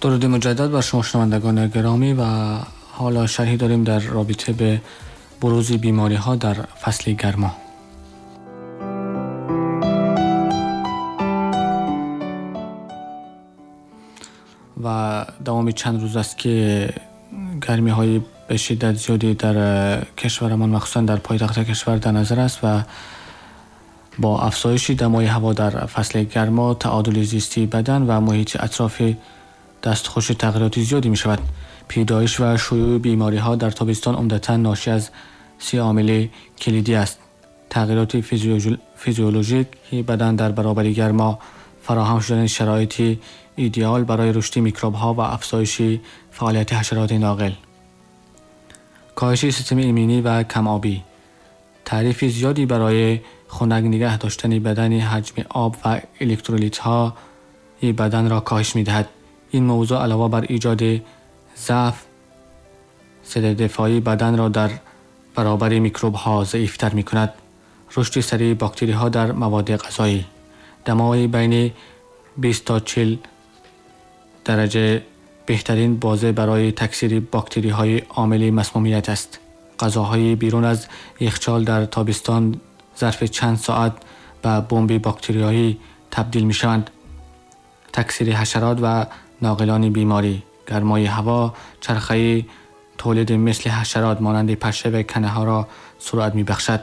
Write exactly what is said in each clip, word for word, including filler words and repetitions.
درود مجدد بر شما شنوندگان گرامی و حالا شرحی داریم در رابطه به بروز بیماری ها در فصل گرما. و دوام چند روز است که گرمی های به شدت زیادی در کشورمان، مخصوصا در پایتخت کشور در نظر است و با افزایش دمای هوا در فصل گرما تعادل زیستی بدن و محیط اطراف دستخوش تغییرات زیادی می شود. پیدایش و شیوع بیماری ها در تابستان عمدتاً ناشی از سه عامل کلیدی است: تغییرات فیزیولوژیک بدن در برابر گرما، فراهم شدن شرایط ایدئال برای رشد میکروب ها و افزایش فعالیت حشرات ناقل، کاهش سیستم ایمنی و کم آبی، تعریف زیادی برای خنک نگه داشتن بدن حجم آب و الکترولیت ها بدن را کاهش می دهد. این موضوع علاوه بر ایجاد ضعف، سد دفاعی بدن را در برابر میکروب ها ضعیف تر می کند. رشد سریع باکتری ها در مواد غذایی، دمای بین بیست تا چهل درجه بهترین بازه برای تکثیر باکتری های عامل مسمومیت است. غذاهای بیرون از یخچال در تابستان ظرف چند ساعت به بمب باکتریایی تبدیل می شوند. تکثیر حشرات و ناقلان بیماری، گرمای هوا چرخه تولید مثل حشرات مانند پشه و کنه ها را سرعت می بخشد.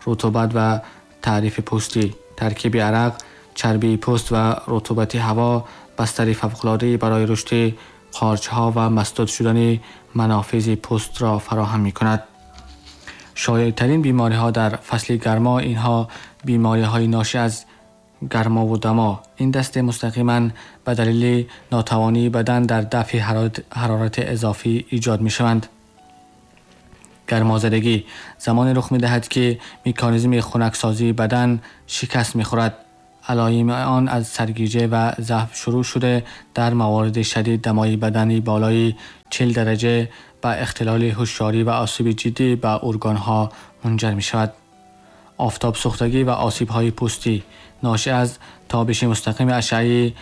رطوبت و تعریف پوستی، ترکیب عرق، چربی پوست و رطوبت هوا بستر فوق‌العاده‌ای برای رشد قارچ‌ها و مسدود شدن منافذ پوست را فراهم می کند. شایع‌ترین بیماری‌ها در فصل گرما اینها بیماری‌های ناشی از گرما و دما. این دسته مستقیما به دلیل ناتوانی بدن در دفع حرارت اضافی ایجاد می شوند. گرمازدگی زمان رخ می دهد که مکانیزم خنکسازی بدن شکست می خورد. علائم آن از سرگیجه و ضعف شروع شده در موارد شدید دمای بدنی بالای چهل درجه به اختلال هوشیاری و آسیب جدی به ارگان‌ها منجر می شود. آفتاب سوختگی و آسیب‌های پوستی ناشی از تابش مستقیم اشعه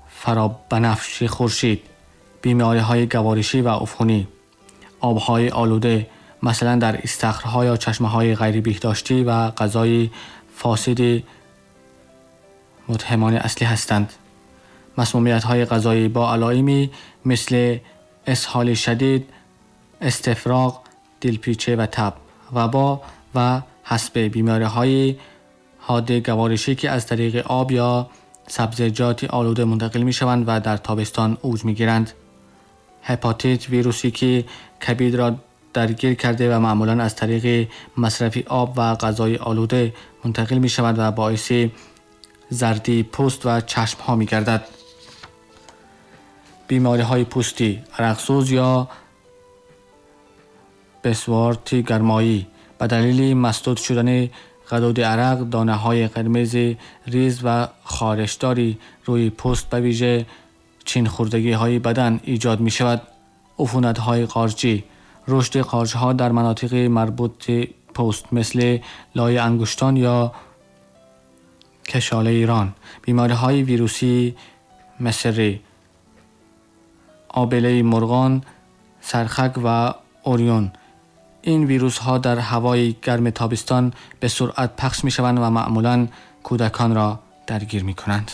فرابنفش خورشید، بیماری‌های گوارشی و عفونی، آب‌های آلوده مثلا در استخرها یا چشمه‌های غیر بهداشتی و غذای فاسد متهمان اصلی هستند. مسمومیت‌های غذایی با علائمی مثل اسهال شدید، استفراغ، دلپیچه و تب، وبا و حسب بیماری‌های حاد گوارشی که از طریق آب یا سبزیجات آلوده منتقل می‌شوند و در تابستان اوج می‌گیرند. هپاتیت، ویروسی که کبد را درگیر کرده و معمولاً از طریق مصرف آب و غذای آلوده منتقل می‌شود و باعث زردی پوست و چشم‌ها می‌گردد. بیماری‌های پوستی، عرقسوز یا بسوارت گرمایی به دلیل مسدود شدن غدود عرق، دانه‌های قرمز ریز و خارشداری روی پوست به ویژه چین خوردگی‌های بدن ایجاد می‌شود. عفونت‌های قارچی، رشد قارچ‌ها در مناطق مربوط پوست مثل لای انگشتان یا کشاله ایران، بیماری‌های ویروسی مصری، آبله مرغان، سرخک و اوریون. این ویروس ها در هوای گرم تابستان به سرعت پخش می شوند و معمولاً کودکان را درگیر می کنند.